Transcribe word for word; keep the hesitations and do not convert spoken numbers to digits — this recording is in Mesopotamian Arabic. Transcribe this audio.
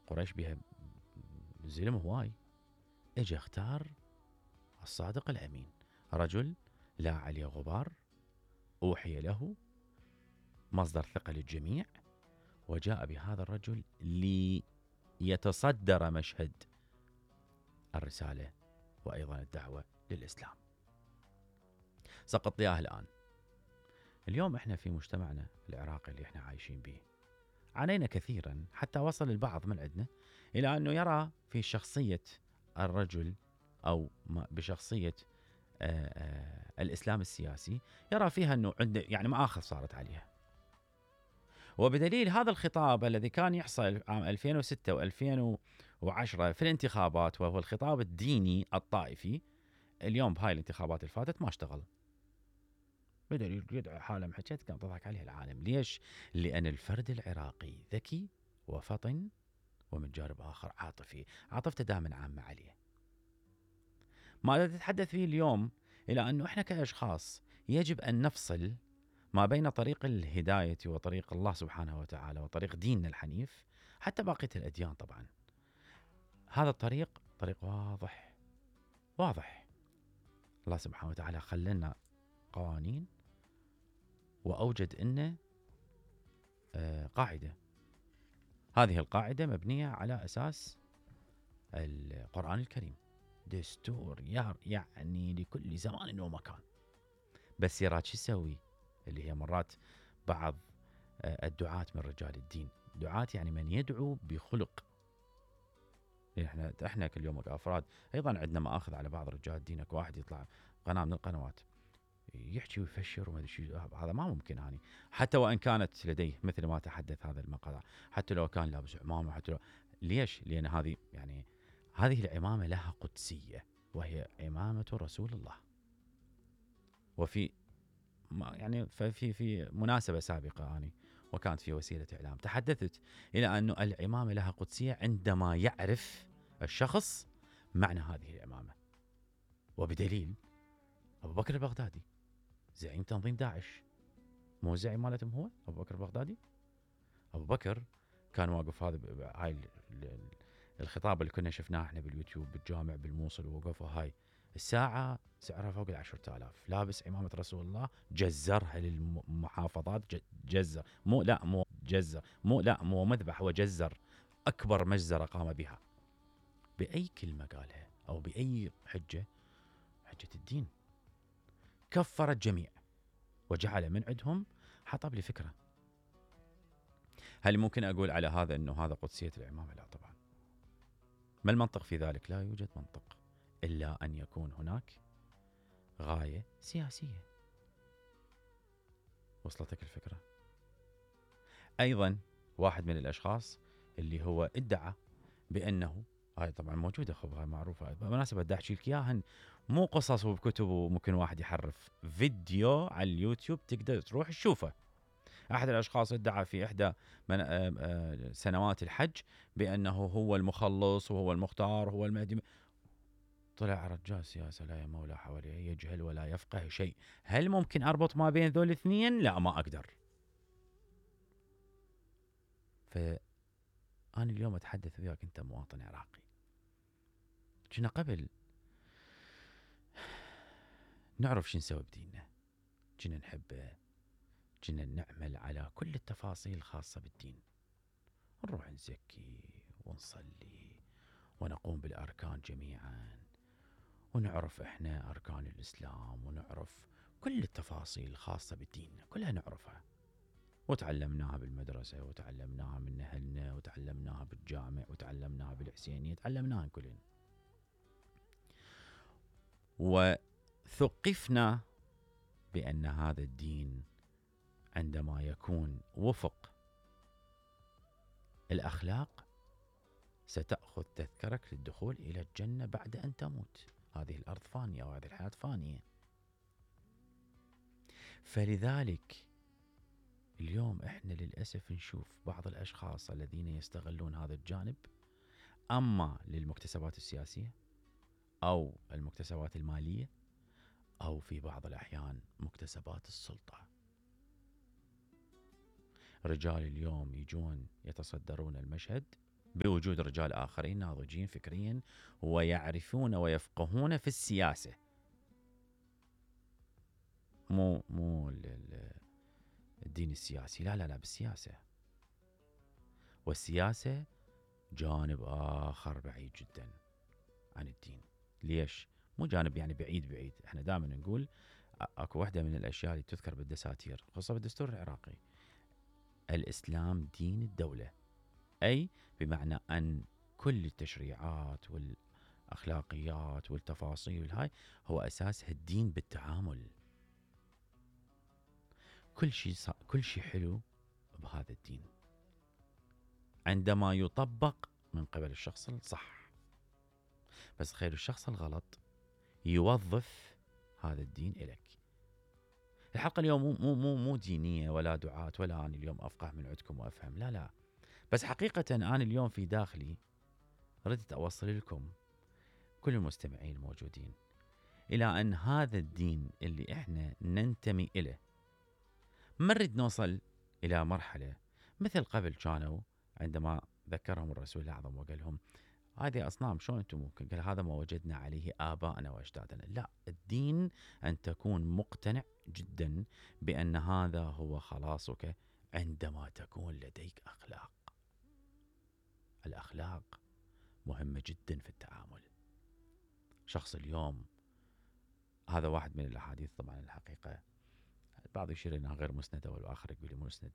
قريش بها زلم هواي، اجى اختار الصادق الأمين، رجل لا عليه غبار، أوحي له، مصدر ثقة للجميع، وجاء بهذا الرجل ليتصدر مشهد الرسالة وأيضا الدعوة للإسلام. سقط إياه الآن. اليوم احنا في مجتمعنا العراقي اللي احنا عايشين به عانينا كثيرا، حتى وصل البعض من عندنا إلى أنه يرى في شخصية الرجل أو بشخصية آآ آآ الإسلام السياسي، يرى فيها أنه عنده يعني مآخذ صارت عليها. وبدليل هذا الخطاب الذي كان يحصل عام ألفين وستة وألفين وعشرة في الانتخابات، وهو الخطاب الديني الطائفي، اليوم بهاي الانتخابات اللي فاتت ما اشتغل. بدليل يدعي حاله محكت كان تضحك عليه العالم. ليش؟ لأن الفرد العراقي ذكي وفطن، ومن جانب آخر عاطفي، عاطفته دائما عامة عليه. ما نتحدث فيه اليوم إلى أنه إحنا كأشخاص يجب أن نفصل ما بين طريق الهداية وطريق الله سبحانه وتعالى وطريق ديننا الحنيف، حتى باقية الأديان طبعا. هذا الطريق طريق واضح واضح. الله سبحانه وتعالى خلنا قوانين وأوجد إنه آه قاعدة. هذه القاعدة مبنية على أساس القرآن الكريم، دستور يعني لكل زمان ومكان. بس يراد شو يسوي؟ اللي هي مرات بعض الدعاة من رجال الدين، دعاة يعني من يدعو بخلق. احنا احنا كل يوم كأفراد ايضا عندنا مآخذ على بعض رجال الدين. واحد يطلع قناة من القنوات يحكي ويفشر وما ادري شو، هذا ما ممكن. هاني حتى وان كانت لديه مثل ما تحدث هذا المقطع، حتى لو كان لابس عمامه، حتى لو ليش؟ لان هذه يعني هذه العمامه لها قدسيه، وهي عمامه رسول الله. وفي يعني في في مناسبه سابقه اني وكانت في وسيله اعلام تحدثت الى انه العمامه لها قدسيه عندما يعرف الشخص معنى هذه العمامه. وبدليل ابو بكر البغدادي زعيم تنظيم داعش، مو زعيم مالتهم هو ابو بكر البغدادي؟ ابو بكر كان واقف، هذا هاي الخطاب اللي كنا شفناه احنا باليوتيوب بالجامع بالموصل، ووقفوا هاي الساعه سعرها فوق العشرة آلاف، لابس عمامه رسول الله، جزرها للمحافظات، جزر مو لا مو جزر مو لا مو مذبح، هو جزر اكبر مجزره قام بها. باي كلمه قالها او باي حجه؟ حجه الدين. كفر الجميع وجعل من عندهم حطب لفكرة. هل ممكن أقول على هذا أنه هذا قدسية العمامة؟ لا طبعا. ما المنطق في ذلك؟ لا يوجد منطق إلا أن يكون هناك غاية سياسية. وصلتك الفكرة؟ أيضا واحد من الأشخاص اللي هو ادعى بأنه، هاي طبعا موجودة خبرها معروفة بمناسبة دا أحكي لك إياها، مو قصص وبكتب وممكن واحد يحرف، فيديو على اليوتيوب تقدر تروح تشوفه. أحد الأشخاص ادعى في إحدى من سنوات الحج بأنه هو المخلص وهو المختار وهو المهدي. طلع رجال سياسة لا يمولى حواليه، يجهل ولا يفقه شيء. هل ممكن أربط ما بين ذول الاثنين؟ لا، ما أقدر. فأنا اليوم أتحدث وياك أنت مواطن عراقي. كنا قبل نعرف شو نسوي بديننا، كنا نحبه، كنا نعمل على كل التفاصيل الخاصة بالدين، نروح نزكي ونصلي ونقوم بالأركان جميعا، ونعرف إحنا أركان الإسلام، ونعرف كل التفاصيل الخاصة بالدين كلها نعرفها، وتعلمناها بالمدرسة، وتعلمناها من أهلنا، وتعلمناها بالجامع، وتعلمناها بالحسينية، تعلمناها كلنا، وثقفنا بأن هذا الدين عندما يكون وفق الأخلاق ستأخذ تذكرك للدخول إلى الجنة بعد أن تموت. هذه الأرض فانية وهذه الحياة فانية. فلذلك اليوم إحنا للأسف نشوف بعض الأشخاص الذين يستغلون هذا الجانب، أما للمكتسبات السياسية أو المكتسبات المالية، أو في بعض الأحيان مكتسبات السلطة. رجال اليوم يجون يتصدرون المشهد بوجود رجال آخرين ناضجين فكريا ويعرفون ويفقهون في السياسة. مو مو الدين السياسي، لا لا لا، بالسياسة. والسياسة جانب آخر بعيد جدا عن الدين. ليش؟ مو جانب يعني بعيد بعيد، احنا دائما نقول اكو واحدة من الاشياء اللي تذكر بالدساتير خاصة بالدستور العراقي، الاسلام دين الدولة، اي بمعنى ان كل التشريعات والاخلاقيات والتفاصيل هاي هو اساسها الدين بالتعامل. كل شيء كل شيء حلو بهذا الدين عندما يطبق من قبل الشخص الصح. بس خير الشخص الغلط يوظف هذا الدين إليك. الحلقة اليوم مو مو مو مو دينية ولا دعاة ولا أنا اليوم أفقه من عندكم وأفهم، لا لا. بس حقيقة أنا اليوم في داخلي ردت أوصل لكم كل المستمعين الموجودين إلى أن هذا الدين اللي إحنا ننتمي إليه ما نريد نوصل إلى مرحلة مثل قبل كانوا عندما ذكرهم الرسول الأعظم وقال لهم هذه أصنام شلون أنتم ممكن؟ قال هذا ما وجدنا عليه آباءنا وأجدادنا. لا، الدين أن تكون مقتنع جدا بأن هذا هو خلاصك عندما تكون لديك أخلاق. الأخلاق مهمة جدا في التعامل. شخص اليوم، هذا واحد من الأحاديث طبعا الحقيقة البعض يشير انها غير مسندة والآخر يقول لي مسندة،